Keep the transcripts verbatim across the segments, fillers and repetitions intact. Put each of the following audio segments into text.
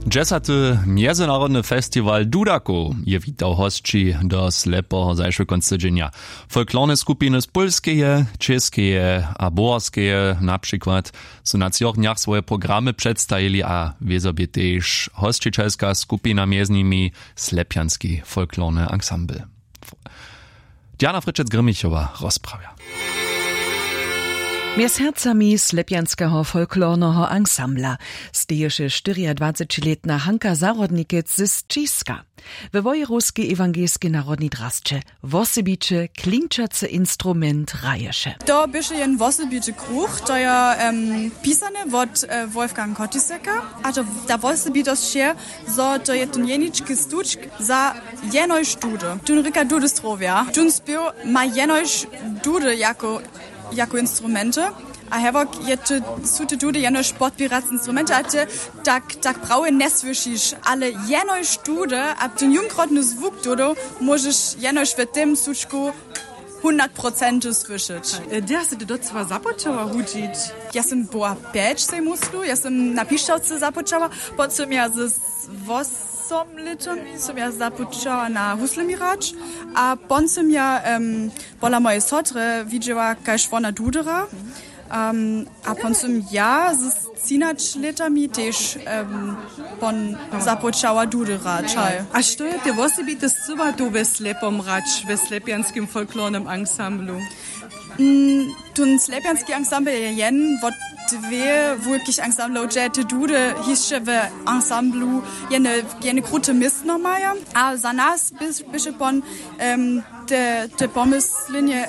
Dźesaty mjezynarodny festiwal dudakow je witał hosći do slepoho zašły kónc tydźenja. Folklorne skupiny z pólskeje, čěskeje a buhorskeje na přikład su na třoch dnjach swoje programy předstajili a wězo bě tež hosćićelska skupina mjez nimi slepjanski folklorny ansambl. Diana Fritschec-Grimmichowa rozprawja. Mjez hercami slepjanskeho folklorneho ansambla steješe štyriadwacećilětna Hanka Zahrodnikec z Ćiska. We wojerowskej ewangelskej narodnej drasće wosebiće klinčacy instrument hraješe. To běše jen wosebity kruch, to je em, pisane wot e, Wolfgang Kottiseka. A to ta wosebitosć je, zo to je tón jenički stučk za jenož dudy. Tón rěka dudy strowja. Tón spěw ma jenož dudy jako jako instrumenty. A hewok je ty, su ty dudy jenož podpěrace instrumenty a ty tak tak prawje njesłyšiš, ale jenož dudy a ten jumkrotny zwuk dudow móžeš jenož w tym sučku hundert procenty słyšeć. Dźe sy ty docyła započała hudźić? Ja sym była pjeć sej muslu ja sym na pišćawce započała. Potom ja z wosom lětami sym ja započała na huslemi hrać. A pon sym ja pola mojej sotry widźała kaž wona dudera. A pon sym ja z třinač lětami tež pon započała dudera čaj. A što je te wosebite scyła tu we slepom hrać we slepjanskim folklornym ansamblu? Tón slepjanski ansambl je jen wot dwě wulkich ansamblow dźe te dudy hišće w ansamblu jene krute městno maja. A za nas běše pon te pomyslenje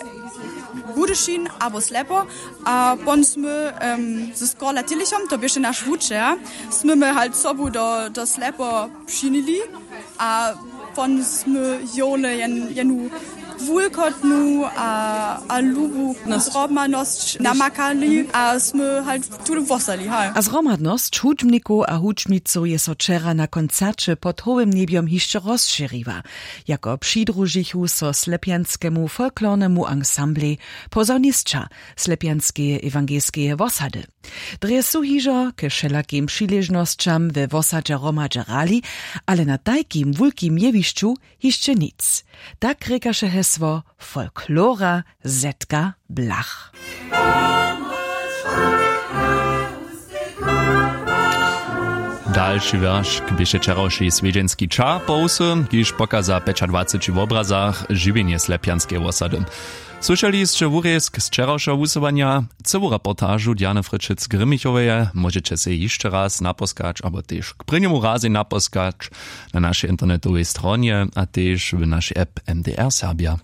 budyšin abo slepo. A pon smy z korla tilichom to běše naš wučer, smy my halt sobu do slepo přinili. A pon smy jowle jenu wulkotnu a lubu zrobmanosć namakali a smy halt tule wostali haj. A zhromadnosć hudźbnikow a hudźbnicow je so wčera na koncerće pod howym njebjom hišće rozšěriła. Jako přidružichu so slepjanskemu folklornemu ansamblej pozornisća slepjanskeje ewangelskeje wosady. Drje su hižo k wšelakim přiležnosćam we wosadźe hromadźe hrali, ale na tajkim wulkim jewišću hišće nic. Tak rěkaše hesło folklora zetka blach. Dalši wjeršk běše wčerawši swjedźenski čar po wsy, kiž pokaza w pjećadwaceći wobrazach žiwjenje slepjanskeje wosady. Słyšeli sće wurězk z wčerawšeho wusyłanja. Cyłu reportažu Diany Frytšec-Grimmichoweje móžeće sej hišće raz naposkać abo tež k prěnjemu razej naposkać na našej internetowej stronje a tež w našej app M D R Serbja.